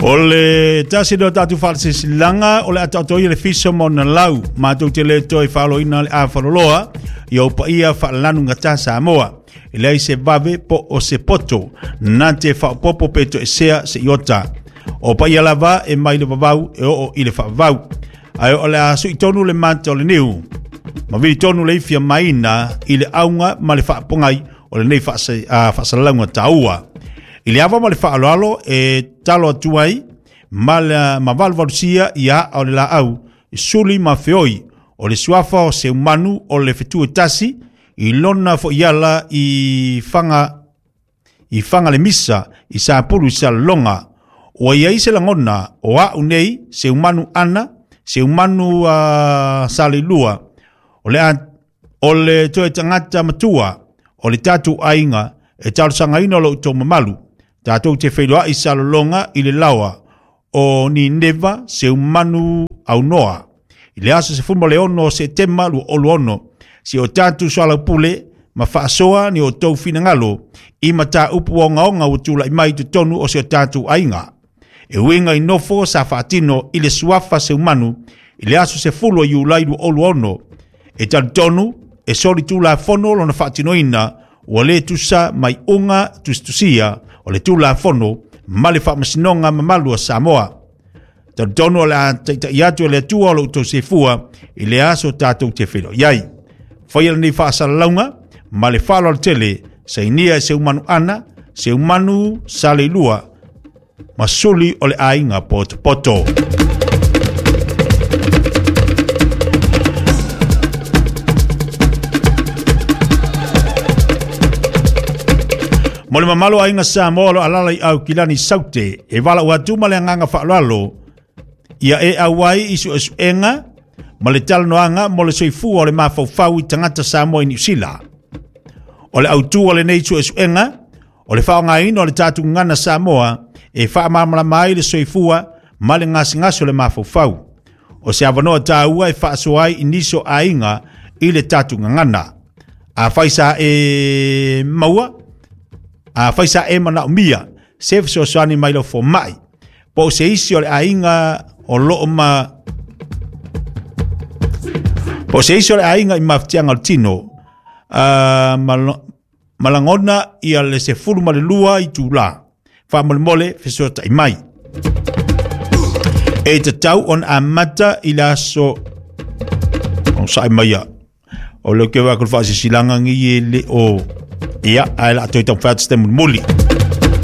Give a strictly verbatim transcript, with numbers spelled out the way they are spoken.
O le tasi leo tatou faasilasilaga o le ataotoia le fiso ma ona lau matou te le toe faaloina le afaloloa i ou paia faalalanugata Samoa. E leai se vave po o se poto na te faaopopo pe toesea se iota. O paia lava e mai le vavau e oo i le faavavau. Ae o le a suitonu le mata o le niu ma vilitonu le ifia maina i le auga ma le faapogai o lenei faasalalauga taua. I le ava ma le faaaloalo e talo atu ai ma le ma valuvalusia ia o le laau suli ma feoi o le suafa o Seumanu o le fetu e tasi i lona foiala i fanga i fanga le misa i Sapulu i Salelologa. Ua iai se lagona o au nei Seumanu ana Seumanu uh, Saleilua o le, o le toe tagata matua o le tatou aiga e talosagaina o lou tou mamalu tatou te feiloai Salelologa i le laoa o Nineva Seumanu aunoa i le aso sefulu ma le ono o Setema lua olu ono si o tatou soalaupule ma faasoa ni o tou finagalo i mataupu ogaoga ua tulai mai i totonu o si o tatou aiga. E uiga i nofo sa faatino i le suafa Seumanu i le aso sefulu o Iulai lua olu ono e talitonu e soli tulafono lona faatinoina ua le tusa mai uga tusitusia o le tulafono ma le faamasinoga mamalu a Samoa. Talitonu o le a taitai atu e le Atua o lou tou seifua i le aso tatou te feiloai ai. Faia lenei faasalalauga ma le faaaloalo tele sainia e Seumanu ana Seumanu Saleilua ma suli o le aiga potopoto. Mo le mamalo aiga Samoa o lo alala i Aukilani Saute e valaau atu ma le agaga faaaloalo ia e auai i suesuega ma le talanoaga mo le soifua o le mafaufau i tagata Samoa i Niu Sila. O le autu o lenei suesuega o le faaaogaina o le tatou gagana Samoa e faamalamalama ai le soifua ma le gasegase o le mafaufau. O se avanoa taua e faasoa ai i nisi o aiga i le tatou gagana. Afai sa e maua, afai sa e manaomia se fesoasoani mai lau fomai po o se isi o le aiga o loo ma po o se isi o le aiga i mafatiaga o le tino uh, malagona ia le sefulu ma le lua i tula faamolemole fesoatai mai. E tatau ona amata i le aso o sae maia o le ke wa ko faasisilaga gi e le o ia ae la toe taumafai atu se taimi mulimuli.